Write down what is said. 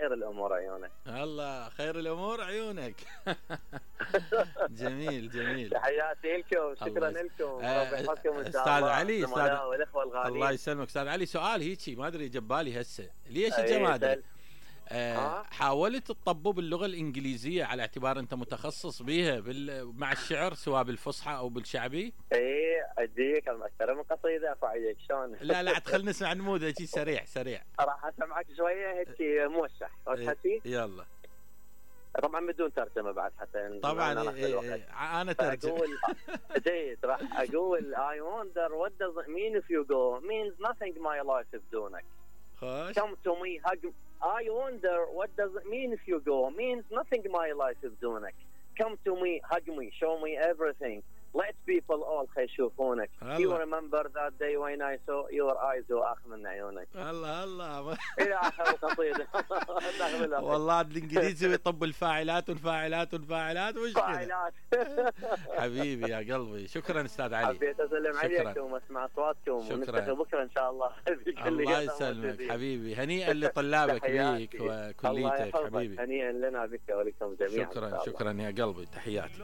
خير الامور عيونك. الله خير الامور عيونك. جميل جميل. تحياتي لكم، شكرا لكم، ربي يحفظكم ان شاء استاذ الله. علي، الزملاء والاخوه الغاليين. الله يسلمك. استاذ علي، سؤال هيجي ما ادري جبالي هسه، ليش اجى ما ادري. حاولت تطبب باللغه الانجليزيه على اعتبار انت متخصص بيها مع الشعر سواء بالفصحى او بالشعبي؟ ايه اديك اكثر من قصيده افعيك شلون؟ لا تخل نسمع نموذج سريع. راح اسمعك شويه هيك موشح وتحكي. يلا. طبعا بدون ترجمه بعد حتى طبعا انا ترجم. جيد. راح اقول I wonder what does it mean if you go means nothing my life بدونك. Come to me hug. I wonder what does it mean if you go means nothing my life بدونك. Come to me hug me show me everything. Let people all يشوفونك. You remember that day when I saw your eyes واخ من عيونك. الله الى اخر القصيده. والله الانجليزي يطب الفاعلات والفاعلات وش فاعلات. حبيبي يا قلبي، شكرا استاذ علي. حبيت اسلم عليكم واسمع اصواتكم ونلتقي بكره ان شاء الله. الله يسلمك حبيبي، هنيئا لطلابك بيك وكليتك حبيبي. هنيئا لنا بك ولكم جميعا. شكرا يا قلبي، تحياتي.